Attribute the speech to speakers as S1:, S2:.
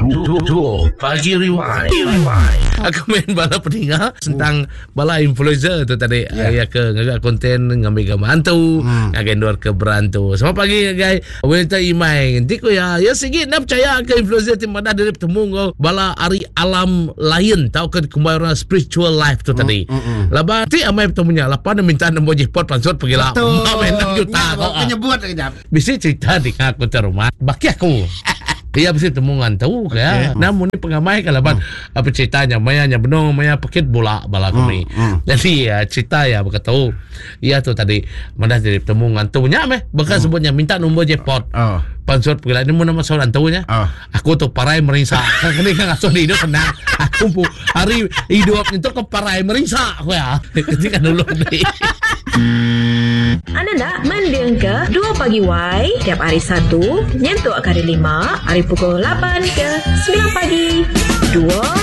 S1: Dua Pagi Rewind. Aku main bala peninga tentang bala influencer tu tadi yeah. ya ke ngaga konten ngambil gambar hantu hmm. ngagai endur ke berantu. Selamat pagi ngagai Wilta Imai. Enti ku ya, ya sigi enda percaya ke influencer ti madah diri betemu enggau bala ari alam lain tauka dikumbai orang spiritual life tu tadi. Mm, mm, mm. Laban ti amai betemu nya lapan dia minta nombor jepot pansut pegila.
S2: Betul.
S1: Enam juta.
S2: Nya,
S1: Ah.
S2: nyebut kejap.
S1: Bisi cerita dinga aku tu rumah. Baki aku. Iya bisi temu ngantu ke ya. Namun ni pengamai ke laban hmm. apa ceritanya maya nya benung maya pekit bola bala hmm. kami. Hmm. Jadi ya, cerita ya berkata iya tu tadi madah jadi temu ngantu nya meh bukan hmm. sebutnya minta nombor jepot.
S2: Oh.
S1: Pansut pegila ni mun nama soal antu nya.
S2: Oh.
S1: Aku tu parai merinsa. Kan kini kan ngasuh di hidup senang. Aku pu hari hidup itu ke parai merinsa aku ya. Ketika dulu ni.
S3: Anda enda mendingka Dua Pagi Wai tiap hari Satu nyentuk ke hari Lima ari pukul lapan ke semilan pagi. Dua.